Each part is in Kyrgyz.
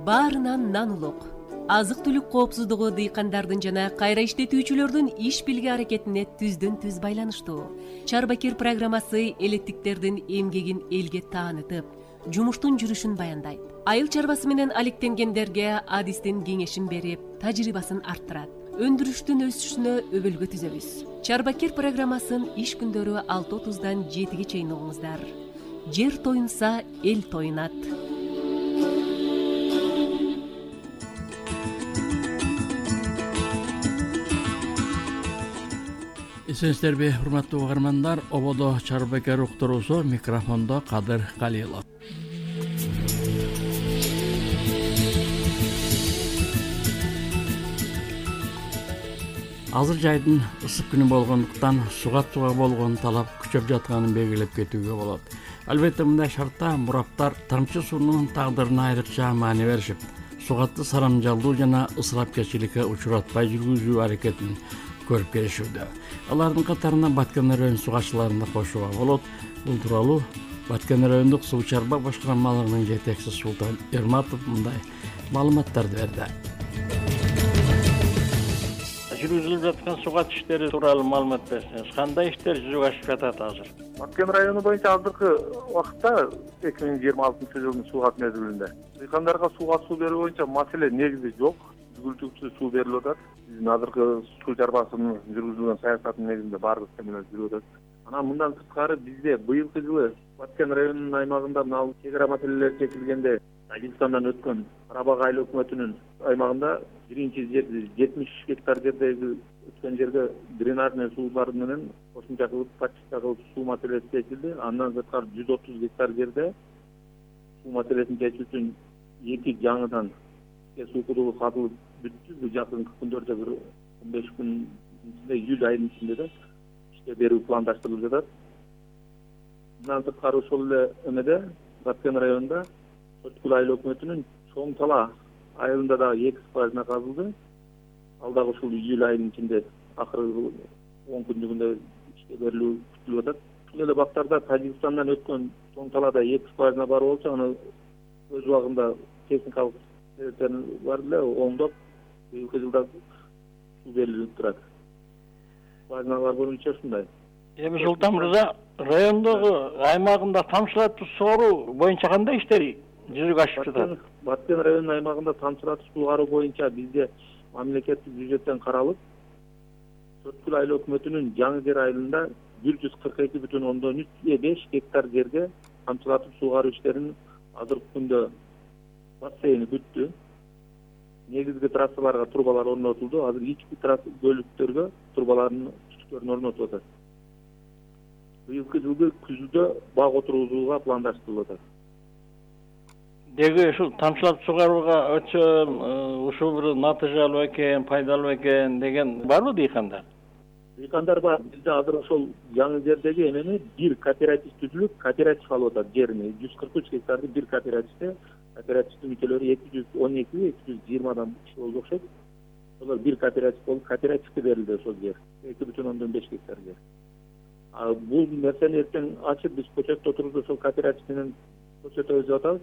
баарынан нан улук. Азык түлүк коопсуздугу дыйкандардын жана кайра иштетүүчүлөрдүн иш бирге аракетине түздөн түз байланыштуу. Чарбакер программасы элеттиктердин эмгегин элге таанытып, жумуштун жүрүшүн баяндайт. Айыл чарбасы менен алектенгендерге адистин кеңешин берип, тажрыйбасын арттырат. Өндүрүштүн өсүшүнө өбөлгө түзөбүз. Чарбакер программасын иш күндөрү 6:30-дан 7-ге чейин угуңуздар. Жер тоюнса, эл тоюнат. Эсенсиздерби, урматтуу угармандар, ободо Чарбакер уктуруусу, микрофондо Кадыр Калилов. Азыр жайдын ысык күнү болгондуктан сугатууга болгон талап күчөп жатканын белгилеп кетүүгө болот. Албетте мындай шартта мураптар тамчы суунун тагдырына айрыкча маани беришип, сугатты сарамжалдуу жана ысырапчылыкка учуратпай жүргүзүү аракетин көрүп келишүүдө. Алардын катарына Баткен район сугачыларын да кошууга болот. Бул тууралуу Баткен райондук суу чарба башкармалыгынын жетекчиси Султан Эрматов мындай маалыматтарды берди. Жүргүзүлүп жаткан сугат иштери тууралуу маалымат берсеңиз, кандай иштер жүзүгө ашып жатат азыр? Баткен району боюнча азыркы убакытта 2026 жылдын сугат мезгилинде дыйкандарга суу берүү боюнча маселе негизи жок. Күзгүлтүкчү суу берилип атат. Биздин азыркы суу чарбасынын жүргүзүлгөн саясатынын негизинде баардык темелер жүрүп атат. Анан мындан сырткары бизде быйылкы жылы Баткен районунун аймагында мына чек ара маселелери чечилгенде Тажикстандан өткөн Карабак айыл өкмөтүнүн аймагында биринчи жер 70 гектар жердеги өткөн жерге дренажный суулар менен кошумча кылып подчистка кылып суу маселеси чечилди. Андан сырткары 130 гектар жерде суу маселесин чечүү үчүн 2 жаңыдан суу кудугу казылып бүттү. Бул жакынкы күндөрдө бир 15 күн ичинде, июль айынын ичинде да ишке берүү пландаштырылып жатат. Мындан сырткары ошол эле эмеде Баткен районунда Сочкул айыл өкмөтүнүн Чоң Тала айылында дагы 2 скважина казылды. Ал дагы ушул июль айынын ичинде акыркы 10 күндүгүндө ишке берилүү күтүлүп атат. Ушул эле бактарда Тажикстандан өткөн Чоң Талада 2 скважина бар болчу, аны өз убагында техникалык бар эле оңдоп, быйылкы жылда суу берилип турат. Скважиналар боюнча ушундай. Эми Султан мырза, райондогу аймагында тамчылатып сугаруу боюнча кандай иштери жүзүгө ашып жатат? Баткен районунун аймагында тамчылатып сугаруу боюнча бизде мамлекеттик бюджеттен каралып, Сочкул айыл өкмөтүнүн Жаңы Жер айылында 142,5 гектар жерге тамчылатып сугаруу иштерин азыркы күндө бассейни бүттү. Негизги трассаларга трубалар орнотулду. Азыр ички бөлүктөргө трубалардын түтүктөрүн орнотуп атат. Быйылкы жылы күздө бак отургузууга пландаштырылып атат. Деги ушул тамчылатып сугарууга өтсөм ушул бир натыйжалуу экен, пайдалуу экен деген барбы дыйкандар? Дыйкандар бар. Бизде азыр ошол Жаңы Жердеги эмени бир кооператив түзүлүп, кооператив алып атат жерини. 143 гектарды бир кооперативде, кооперативдин мүчөлөрү 212-220 киши болуп окшойт. Олар бир кооператив болуп, кооперативге берилди ошол жер. 2,5 гектар жер. Бул нерсени эртең ачып биз көчөттө отурубуз ошол кооператив менен көрсөтөбүз деп атабыз.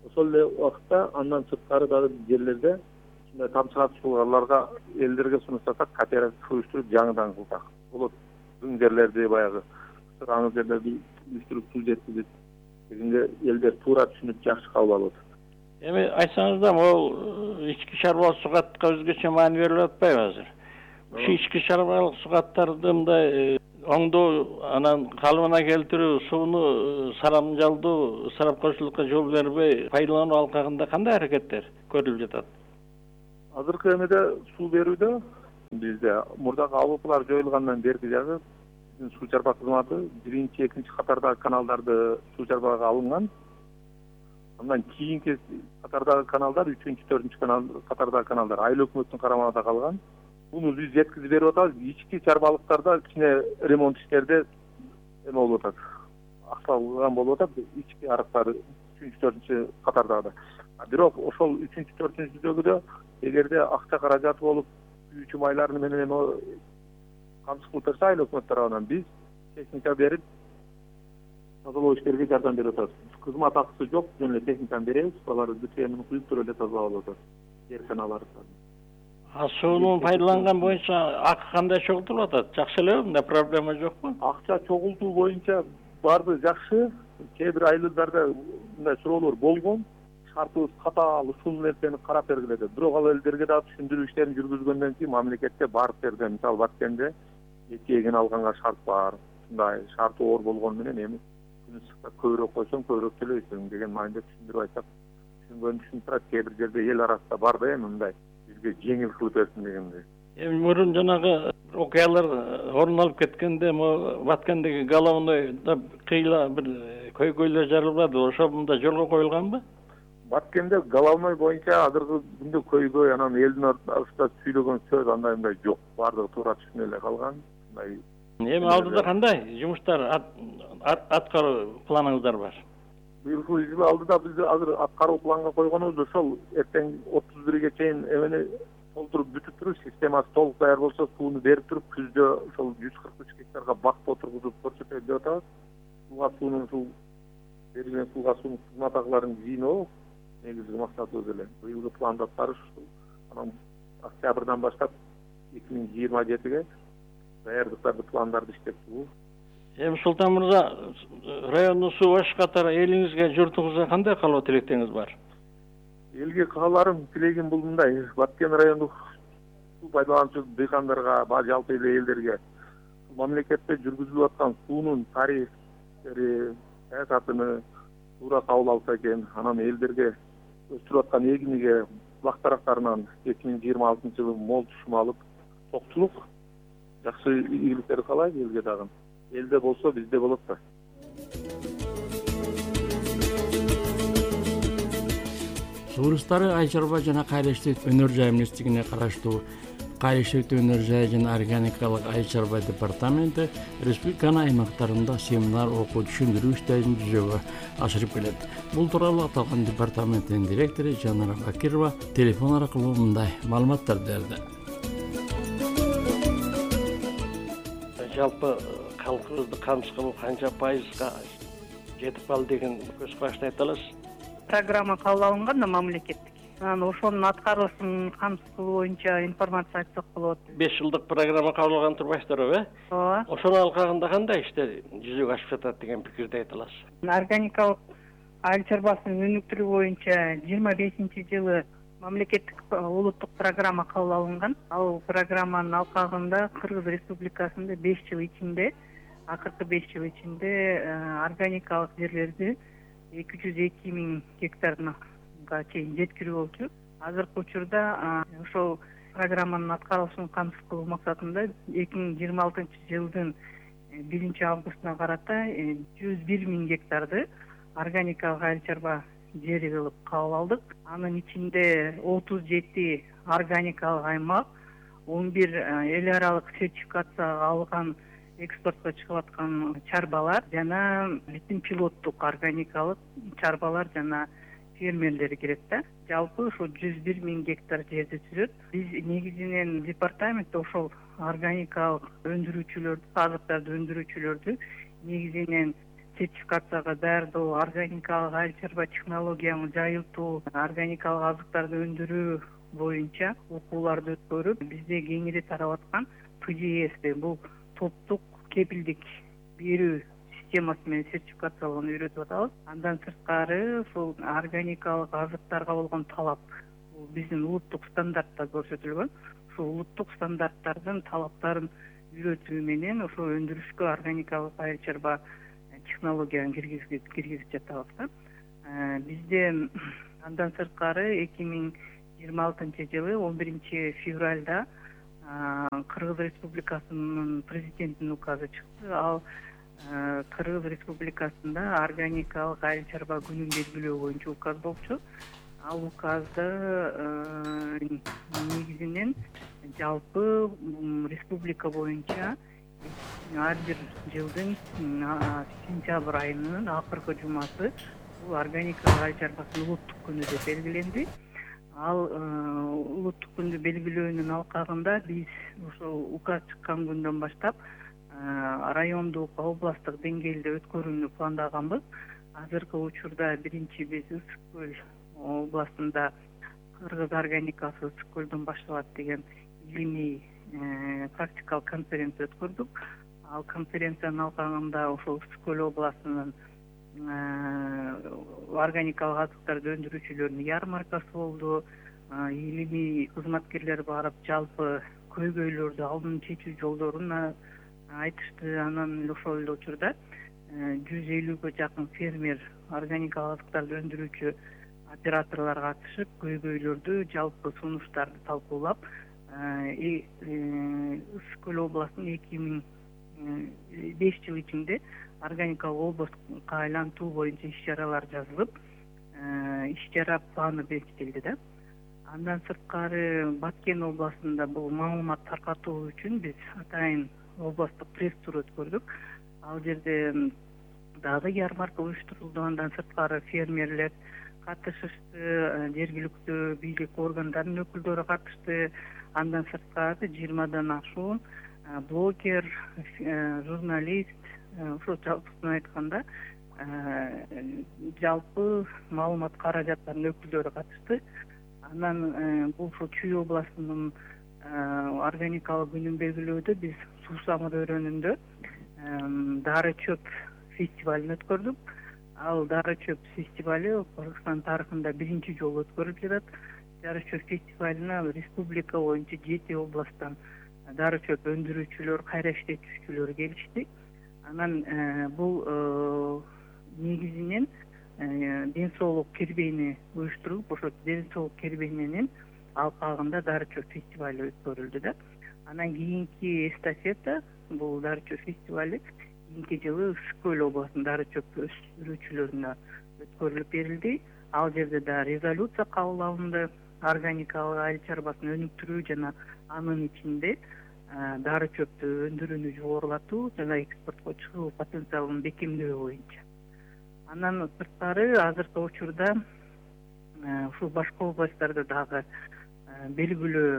Ошол эле убакытта андан сырткары дагы жерлерде ушундай тамчылатып сугарууларга элдерге сунуштасак, кооператив уюштуруп жаңыдан кылсак болот. Бүң жерлерди баягы аңыз жерлерди уюштуруп суу жеткизип дегенде элдер туура түшүнүп жакшы кабыл алып атат. Эми айтсаңыз да, могул ички чарбалык сугатка өзгөчө маани берилип атпайбы азыр? Ушу ички чарбалык сугаттарды мындай оңдоо, анан калыбына келтирүү, сууну сарамжалдуу, ысырапчылыкка жол бербей пайдалануу алкагында кандай аракеттер көрүлүп жатат? Азыркы эмеде суу берүүдө бизде мурдагы АВПлар жоюлгандан берки жагы биздин суу чарба кызматы 1-2 катардагы каналдарды суу чарбага алынган. Андан кийинки катардагы каналдар 3-4 катардагы каналдар айыл өкмөтүнүн карамагында калган. Буну биз жеткизип берип атабыз. Ички чарбалыктарда кичине ремонт иштерде эме болуп атат. Аксалган болуп атат. Ички арыктар 3-4 катардагы. Бирок ошол 3-4-дөгүдө эгерде акча каражаты болуп, күйүүчү майларын менен эме камсыз кылып берсе айыл өкмөт тарабынан биз техника берип тазалоо иштерине жардам берип атабыз. кызмат акысы жок, жөн эле техниканы беребиз, алар бүт эмини куюп туруп эле тазалап алып атат. Дээрканаларды. Сууну пайдаланган боюнча акы кандай чогултулуп атат? Жакшы элеби? Мындай проблема жокпу? Акча чогултуу боюнча баардыгы жакшы. Кээ бир айылдарда мындай суроолор болгон. Шартыбыз катаал ушул нерсени карап бергиле деп. Бирок ал элдерге дагы түшүндүрүү иштерин жүргүзгөндөн кийин мамлекетте барып жерде, мисалы Баткенде 2 эгин алганга шарт бар. Мындай шарты оор болгону менен эми күн ысыкта көбүрөөк койсоң көбүрөөк төлөйсүң деген маанидә түшүндүрүп айтсак, түшүнгөн турат. Кээ бир жерде эл арасында бар да эми мындай бизге жеңил кылып берсин дегендей. Эми мурун жанагы окуялар орун алып кеткенде могу Баткендеги головойда кыйла бир көйгөйлөр жарылбады. Ошо мында жолго коюлганбы? Баткенде головной боюнча азыркы күндө көйгөй, анан элдин арасында сүйлөгөн сөз андай мындай жок. Бардыгы туура түшүнө эле калган. Мындай Эми алдыда кандай жумуштар аткаруу планыңыздар бар? быйылкы yzyl алдыда биз азыр аткаруу планга койгонубуз ошол эртең 31-ге чейин эмени толтуруп бүтүп туруп, системасы толук даяр болсо сууну берип туруп, күздө ошол 143 гектарга бакт отургузуп көрсөтөлүп деп атабыз. Сууга суунун ушул берилген сууга суунун кызматакыларын жыйноо негизги максатыбыз эле. Быйылкы планды аткарыш ушул. Анан октябрдан баштап 2027-ге даярдыктарды, пландарды иштеп чыгуу. Эми Султан мырза, райондун суу баш катары элиңизге, журтуңузга кандай каалоо тилектериңиз бар? Элге кааларым, тилегим бул мындай: Баткен райондук суу пайдалануучу дыйкандарга, жалпы эле элдерге мамлекетте жүргүзүлүп аткан суунун тарифтери, саясатыны туура кабыл алса экен, анан элдерге өстүрүп аткан эгиниге бактарактарынан 2026-жылы мол түшүм алып, токтулук жакшы ийгиликтер каалайт элге дагы. Элде болсо бизде болот да. Сууристары Айчарба жана Кайрыштык өнөр жай министрлигине караштуу Кайрыштык өнөр жай жана органикалык Айчарба департаменти республиканын аймактарында семинар окуу түшүндүрүү иштерин жүзөгө ашырып келет. Бул тууралуу аталган департаменттин директору Жанара Бакирова телефон аркылуу мындай маалыматтар берди. Жалпы халкыбызды камсыз кылуу канча пайызга жетип калды деген көз карашты айта аласыз? Программа кабыл алынган да мамлекеттик. Анан ошонун аткаруусун камсыз кылуу боюнча информация айтсак болот. 5 жылдык программа кабыл алган турбайсыздарбы, э? Ооба. Ошонун алкагында кандай иштер жүзөгө ашып жатат деген пикирди айта аласыз? Органикалык айыл чарбасынын өнүктүрүү боюнча 25-жылы мамлекеттик улуттук программа кабыл алынган. Ал программанын алкагында Кыргыз Республикасында 5 жыл ичинде, акыркы 5 жыл ичинде органикалык жерлерди 202 000 гектарга чейин жеткирүү болчу. Азыркы учурда ошол программанын аткаруусун камсыз кылуу максатында 2026-жылдын 1-августуна карата 101 000 гектарды органикалык айыл чарба жери кылып кабыл алдык. Анын ичинде 37 органикалык аймак, 11 эл аралык сертификацияга алган экспортко чыгып аткан чарбалар жана бүтүн пилоттук органикалык чарбалар жана фермерлер кирет да. Жалпы ошо 101 000 гектар жерди түзөт. Биз негизинен департаментте ошол органикалык өндүрүүчүлөрдү, азыктарды өндүрүүчүлөрдү негизинен сертификацияга даярдоо, органикалык айыл чарба технологияны жайылтуу, органикалык азыктарды өндүрүү боюнча окууларды өткөрүп, бизде кеңири тарап аткан ПДС бул топтук кепилдик берүү системасы менен сертификациялоону үйрөтүп атабыз. Андан сырткары ушул органикалык азыктарга болгон талап бул биздин улуттук стандартта көрсөтүлгөн. Ушул улуттук стандарттардын талаптарын үйрөтүү менен ошо өндүрүшкө органикалык айыл чарба технологияны киргизип жатабыз. Бизде андан сырткары 2026-жылы 11-февралда Кыргыз Республикасынын президентинин указы чыкты. Ал Кыргыз Республикасында органикалык айыл чарба күнүн белгилөө боюнча указ болчу. Ал указда негизинен жалпы республика боюнча ар бир жылдын сентябрь айынын акыркы жумасы бул органикалык айыл чарбасынын улуттук күнү деп белгиленди. Ал улуттук күндү белгилөөнүн алкагында биз ошол указ чыккан күндөн баштап райондук, областтык деңгээлде өткөрүүнү пландаганбыз. азыркы учурда биринчи биз Ысык көл областында кыргыз органикасы Ысык көлдөн башталат деген илимий практикалык конференция өткөрдүк. Ал конференциянын алкагында ошол Ысык көл областынын органикалык азыктарды өндүрүүчүлөрүнүн ярмаркасы болду. Илимий кызматкерлер барып жалпы көйгөйлөрдү, алдын чечүү жолдорун айтышты. Анан ошол эле учурда 150-ге жакын фермер органикалык азыктарды өндүрүүчү операторлор катышып, көйгөйлөрдү, жалпы сунуштарды талкуулап, Ысык көл областынын 2005 жыл ичинде органикалык областка айлантуу боюнча иш-чаралар жазылып, иш-чара планы бекитилди да. Андан сырткары Баткен областында бул маалымат таркатуу үчүн биз атайын областтык пресс-тур өткөрдүк. Ал жерде дагы ярмарка уюштурулду. Андан сырткары фермерлер катышышты, жергиликтүү бийлик органдарынын өкүлдөрү катышты. Андан сырткары 20дан ашуун блогер, журналист, ошо жалпысын айтканда жалпы маалымат каражаттарынын өкүлдөрү катышты. Анан бул Чүй областынын органикалык күнүн белгилөөдө биз Суусамыр өрөөнүндө дары чөп фестивалын өткөрдүк. Ал дары чөп фестивали Кыргызстан тарыхында биринчи жолу өткөрүлүп жатат. Дары чөп фестивалына республика боюнча 7 областтан дары чөп өндүрүүчүлөр, кайра иштетүүчүлөр келишти. Анан бул негизинен ден соолук кербейни уюштуруп, ошо ден соолук кербейнинин алкагында дары чөп фестивали өткөрүлдү да. Анан кийинки эстафета бул дары чөп фестивали кийинки жылы Ысык көл областынын дары чөп өстүрүүчүлөрүнө өткөрүлүп берилди. Ал жерде да резолюция кабыл алынды. Органикалык айыл чарбасын өнүктүрүү жана анын ичинде дары чөптү өндүрүүнү жогорулатуу жана экспортко чыгуу потенциалын бекемдөө боюнча. Андан сырткары азыркы учурда ушул башка областтарда дагы белгилөө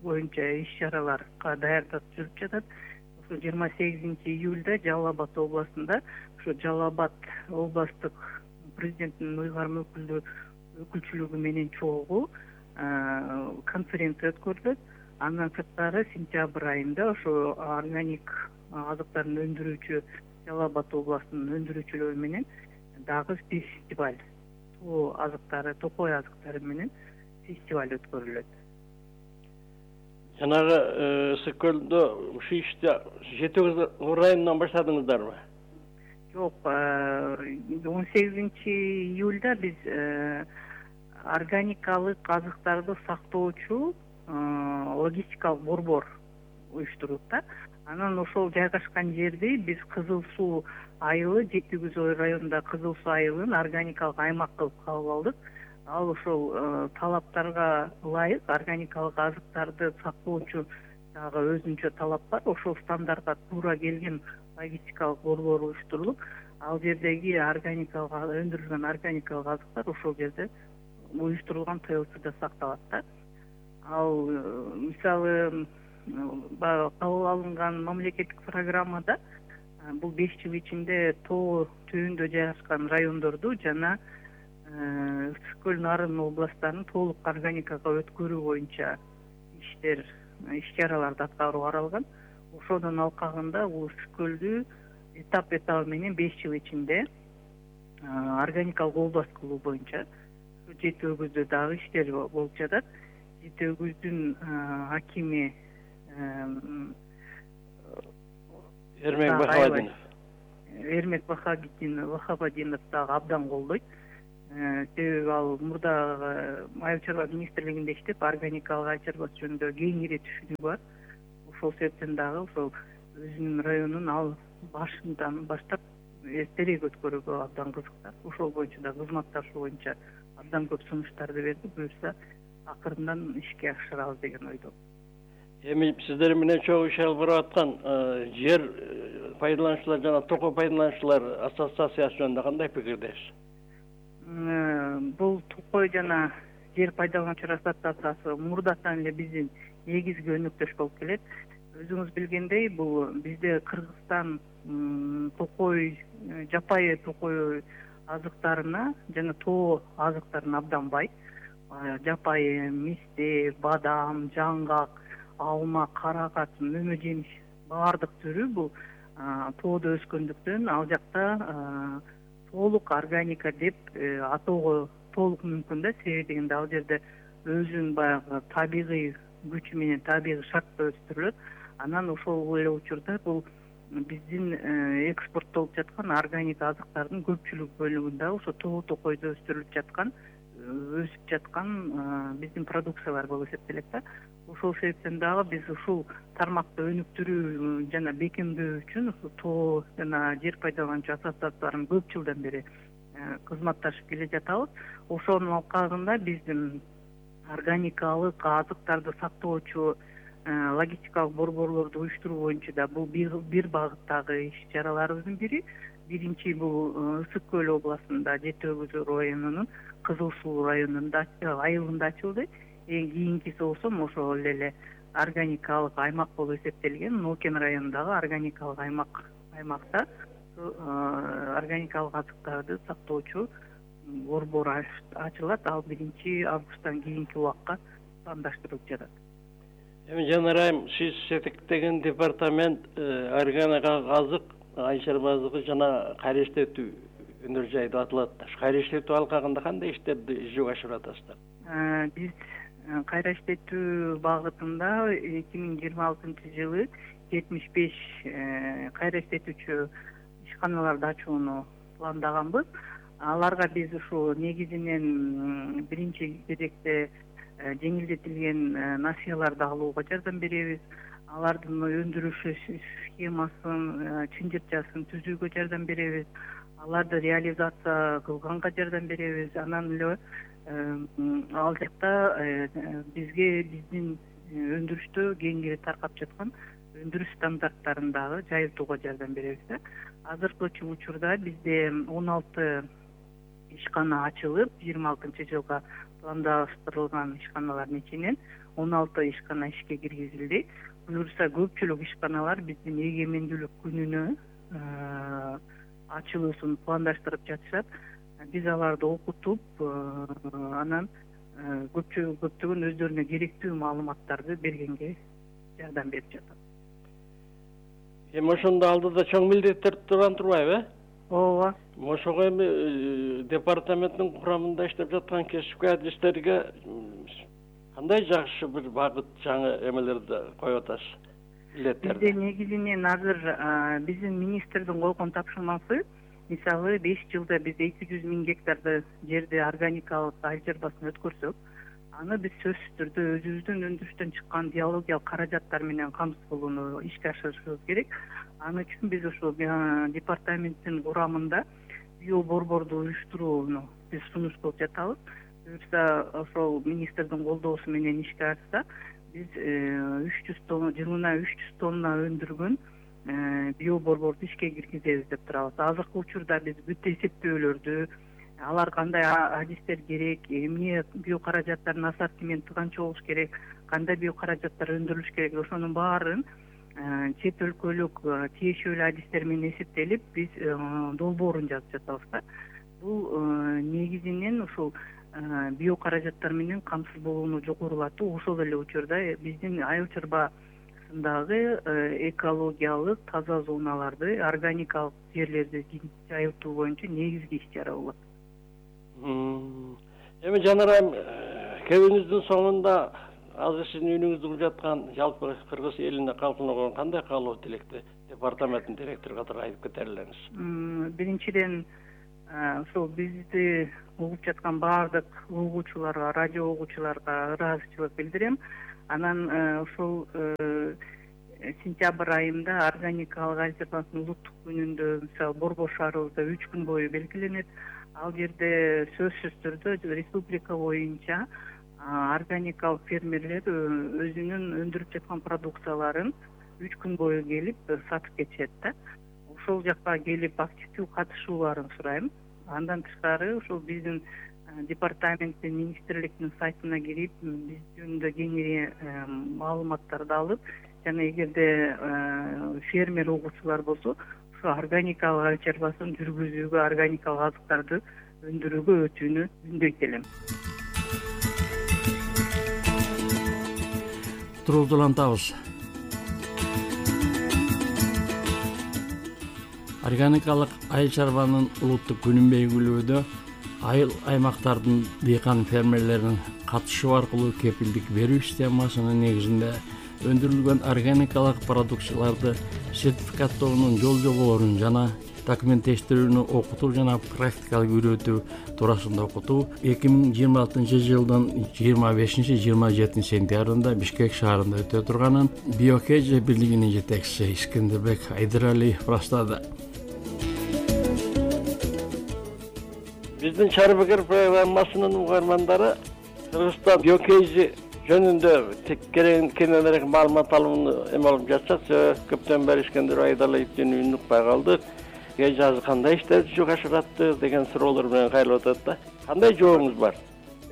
боюнча иш-чараларга даярдык жүрүп жатат. Ошо 28-июлда Жалал Абад областында ошо Жалал Абад областтык президенттин ыйгарым өкүлчүлүгү менен чогуу конференция өткөрүлөт. Андан сырткары сентябрь айында ошо органик азыктарын өндүрүүчү Жалал Абад областынын өндүрүүчүлөрү менен дагы фестиваль, токой азыктары менен фестиваль өткөрүлөт. Жанагы Ысык көлдө ушул ишти 7 районунан баштадыңыздарбы? Жок, 18-июлда биз органикалык азыктарды сактоочу логистикалык борбор уюштурдук да. Анан ошол жайгашкан жерди биз Кызыл Суу айылы, Жети Күзөй районунда Кызыл Суу айылын органикалык аймак кылып кабыл алдык. Ал ошол талаптарга ылайык органикалык азыктарды сактоочу дагы өзүнчө талап бар. Ошол стандартка туура келген логистикалык борбор уюштурулуп, ал жердеги органикалык өндүрүлгөн органикалык азыктар ошол жерде уюштурулган ТЛЦда сакталат да. Ал мисалы кабыл алынган мамлекеттик программада бул 5 жыл ичинде тоо түбүндө жайгашкан райондорду жана Ысык көл нарын областтарын толук органикага өткөрүү боюнча иш-чараларды аткаруу каралган. Ошонун алкагында бул Ысык көлдү этап менен 5 жыл ичинде органикалык област кылуу боюнча Жети Өгүздө дагы иштер болуп жатат. Жети Өгүздүн акими Эрмек Вахабадинов дагы абдан колдойт. Себеби ал мурдагы айыл чарба министрлигинде иштеп, органикалык айыл чарбасы жөнүндө кеңири түшүнүгү бар. Ошол себептен дагы ошол өзүнүн районун ал башынан баштап эртерээк өткөрүүгө абдан кызыктап, ошол боюнча да кызматташуу боюнча абдан көп сунуштарды берди. Буюрса акырындан ишке ашырабыз деген ойдо. Эми сиздер менен чогуу иш алып барып аткан жер пайдалануучулар жана токой пайдалануучулар ассоциациясы жөнүндө кандай пикирдесиз? Бул токой жана жер пайдалануучулар ассоциациясы мурдатан эле биздин негизги өнөктөш болуп келет. Өзүңүз билгендей, бул бизде Кыргызстан токой, жапайы токой азыктарына жана тоо азыктарына абдан бай. Жапайы мисте, бадам, жаңгак, алма, каракат, мөмө жемиш баардык түрү бул тоодо өскөндүктөн ал жакта толук органика деп атоого толук мүмкүн да. Себеби дегенде ал жерде өзүнүн баягы табигый күчү менен табигый шартта өстүрүлөт. Анан ошол эле учурда бул биздин экспорттолуп жаткан органик азыктардын көпчүлүк бөлүгүндө ошо тоо токойдо өстүрүлүп жаткан, өсүп жаткан биздин продукциялар болуп эсептелет да. Ошол себептен дагы биз ушул тармакты өнүктүрүү жана бекемдөө үчүн ушул тоо жана жер пайдалануучу ассоциацияларынын көп жылдан бери кызматташып келе жатабыз. Ошонун алкагында биздин органикалык азыктарды сактоочу логистикалык борборлорду уюштуруу боюнча да бул бир багыттагы иш чараларыбыздын бири. Биринчи бул Ысык көл областында Жети Өгүз районунун Кызыл Суу районунда айылында ачылды. Эң кийинкиси болсо ошол эле органикалык аймак болуп эсептелген Нокен районундагы органикалык аймакта органикалык азыктарды сактоочу борбор ачылат. Ал 1 августтан кийинки убакка пландаштырылып жатат. Эми Жанар айым, сиз жетектеген департамент органикалык азык, ай чарба азыгы жана кайра иштетүү өнөр жайы деп аталат да. Кайра иштетүү алкагында кандай иштерди жүзөгө ашырып атасыздар? Биз кайра иштетүү багытында 2026-жылы 75 кайра иштетүүчү ишканаларды ачууну пландаганбыз. Аларга биз ушу негизинен биринчи кезекте жеңилдетилген насыяларды алууга жардам беребиз. Алардын өндүрүш схемасын, чынжырчасын түзүүгө жардам беребиз. Аларды реализация кылганга жардам беребиз. Анан эле ал жакта бизге биздин өндүрүштө кеңири таркап жаткан өндүрүш стандарттарын дагы жайылтууга жардам беребиз да. Азыркы учурда бизде 16 ишкана ачылып, 26-жылга пландаштырылган ишканалардын ичинен 16 ишкана ишке киргизилди. Буюрса көпчүлүк ишканалар биздин эгемендүүлүк күнүнө ачылуусун пландаштырып жатышат. Биз аларды окутуп, анан көптөгөн өздөрүнө керектүү маалыматтарды бергенге жардам берип жатат. Эми ошондо алдыда чоң милдеттер турган турбайбы? Ооба. Ошого эми департаменттин курамында иштеп жаткан кесипкөй адистерге кандай жакшы бир багыт жаңы эмелерди коюп атасыз? Бизде негизинен азыр биздин министрдин койгон тапшырмасы, мисалы 5 жылда биз 200 000 гектарды жерди органикалык айыл чарбасына өткөрсөк, аны биз сөзсүз түрдө өзүбүздүн өндүрүштөн чыккан биологиялык каражаттар менен камсыздоону ишке ашырышыбыз керек. Аны үчүн биз ошол департаменттин курамында био борборду уюштурууну биз сунуштап жатабыз. Буюрса ошол министрдин колдоосу менен ишке ашса, биз 300 тонна, жылына 300 тонна өндүргөн био борборду ишке киргизебиз деп турабыз. Азыркы учурда биз бүт эсептөөлөрдү, алар кандай адистер керек, эмне био каражаттардын ассортименти канча болуш керек, кандай био каражаттар өндүрүлүш керек, ошонун баарын чет өлкөлүк тиешелүү адистер менен эсептелип, биз долбоорун жазып жатабыз да. Бул негизинен ушул био каражаттар менен камсыз болууну жогорулатуу, ошол эле учурда биздин айыл чарбасындагы экологиялык таза зоналарды, органикалык жерлерди жайылтуу боюнча негизги иш чара болот. Эми Жанар айым, кебиңиздин соңунда азыр сиздин үйүнүңүздө кылып жаткан жалпы кыргыз элине калкына кандай каалоо тилекти департаменттин директору катары айтып кетерлериңиз? Биринчиден ошол бизди угуп жаткан баардык угуучуларга, радио угуучуларга ыраазычылык билдирем. Анан ошол сентябрь айында органикалык айыл чарбасынын улуттук күнүндө, мисалы, Борбор шаарыбызда 3 күн бою белгиленет. Ал жерде сөзсүз түрдө республика боюнча органикалык фермерлер өзүнүн өндүрүп жаткан продукцияларын 3 күн бою келип сатып кетишет да. Ошол жакка келип активдүү катышууларын сурайм. Андан тышкары ушул биздин департаменттин, министрликтин сайтына кирип, биз жөнүндө кеңири маалыматтарды алып, жана эгерде фермер угуучулар болсо, ушу органикалык айыл чарбасын жүргүзүүгө, органикалык азыктарды өндүрүүгө өтүүнү үндөйт элем. Туруңузду улантабыз. Органикалык айыл чарбанын улуттук күнүн белгилөөдө айыл аймактардын дыйкан фермерлеринин катышуу аркылуу кепилдик берүү системасынын негизинде өндүрүлгөн органикалык продукцияларды сертификаттоонун жол жоболорун жана документтештирүүнү окутуу жана практикалык үйрөтүү туурасында окутуу 2026-жылдын 25-27 сентябрында Бишкек шаарында өтө турганын Биокеже бирлигинин жетекчиси Искендербек Айдыралиев ырастады. Биздин Чарбакыр программасынын угармандары Кыргызстан Биокеже жөнүндө кененирээк маалымат алууну эме алып жатышат. Көптөн бери Искендер Айдыралиевден үн укпай калдык. Кеже азыр кандай иштерди жүк ашыратты деген суроолор менен кайрылып атат да. Кандай жообуңуз бар?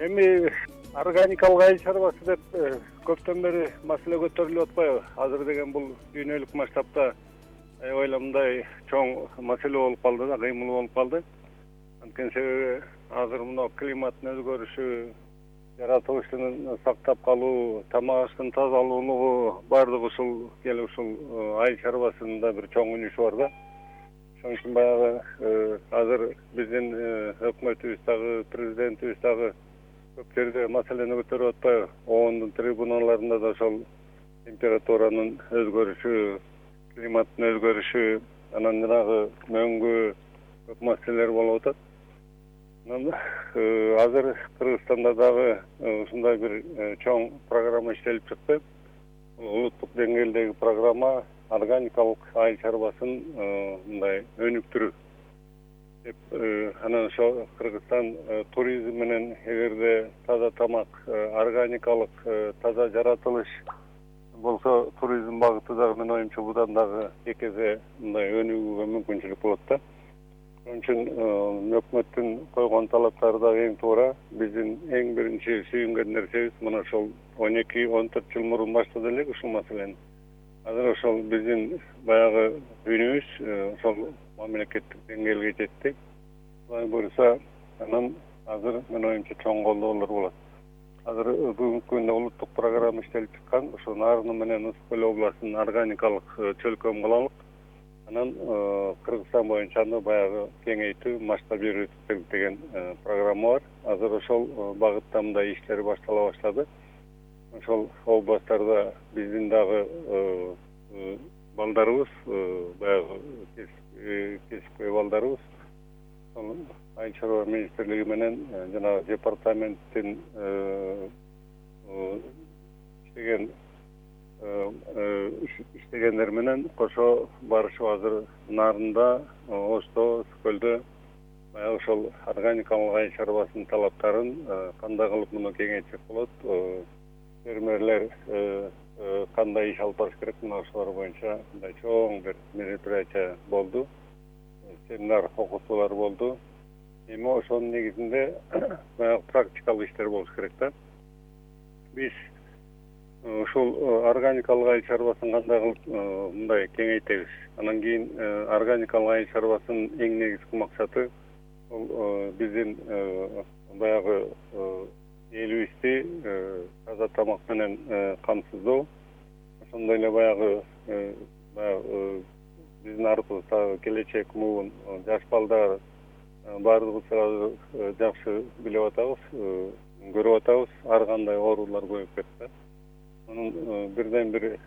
Эми органикалык айыл чарбасы деп көптөн бери маселе көтөрүлүп атпайбы? Азыр деген бул дүйнөлүк масштабта аябай мындай чоң маселе болуп калды да, кыймыл болуп калды. Анткени себеби азыр мына климаттын өзгөрүшү, жаратылышын сактап калуу, тамак аштын тазалуулугу баардыгы ушул келип ушул айыл чарбасында бир чоң үнүшү бар да. Ошон үчүн баягы азыр биздин өкмөтүбүз дагы, президентибиз дагы көп жерде маселени көтөрүп атпайбы? ООНдун трибуналарында да ошол температуранын өзгөрүшү, климаттын өзгөрүшү, анан жанагы мөңгү көп маселелер болуп атат. Азыр Кыргызстанда дагы ушундай бир чоң программа иштелип чыкты. Улуттук деңгээлдеги программа органикалык айыл чарбасын мындай өнүктүрүү деп, анан ошо Кыргызстан туризм менен эгерде таза тамак, органикалык таза жаратылыш болсо, туризм багыты дагы менин оюмча будан дагы эки эсе мындай өнүгүүгө мүмкүнчүлүк болот да. Ошон үчүн өкмөттүн койгон талаптары дагы эң туура. Биздин эң биринчи сүйүнгөн нерсебиз мына ошол 12-14 жыл мурун баштады элек ушул маселени. Азыр ошол биздин баягы үнүбүз ошол мамлекеттик деңгээлге жетти. Алай буюрса, анан азыр менин оюмча чоң колдоолор болот. Азыр бүгүнкү күндө улуттук программа иштелип чыккан. Ошо Нарыны менен Ысык көл областынын органикалык чөлкөм кылалык. Анан Кыргызстан боюнча аны баягы кеңейтүү, масштаб берүү деген программа бар. Азыр ошол багытта мындай иштер баштала баштады. Ошол областтарда биздин дагы балдарыбыз, баягы кесипкөй балдарыбыз, айыл чарба министрлиги менен жана департаменттин иштегендер менен кошо барышып азыр Нарында, Ошто, Ысык көлдө баягы ошол органикалык айыл чарбасынын талаптарын кандай кылып муну кеңейтсек болот, фермерлер кандай иш алып барыш керек, мына ошолор боюнча мындай чоң бир мероприятие болду, семинар окутуулар болду. Эми ошонун негизинде баягы практикалык иштер болуш керек да. Биз ушул органикалык айыл чарбасын кандай кылып мындай кеңейтебиз. Анан кийин органикалык айыл чарбасынын эң негизги максаты бул биздин баягы элибизди таза тамак менен камсыздоо. Ошондой эле баягы биздин артыбызда келечек муун жаш балдар баардыгыбыз жакшы билип атабыз, көрүп атабыз, ар кандай оорулар көбөйүп кетти. Мунун бирден бир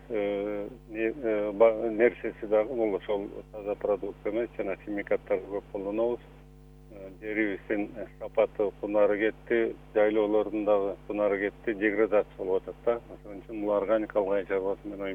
нерсеси дагы бул ошол таза продукт эмес, жана химикаттарды көп колдонобуз. Жерибиздин сапаты кунары кетти, жайлоолордун дагы кунары кетти, деградация болуп атат да. Ошон үчүн бул органикалык айыл чарбасы менен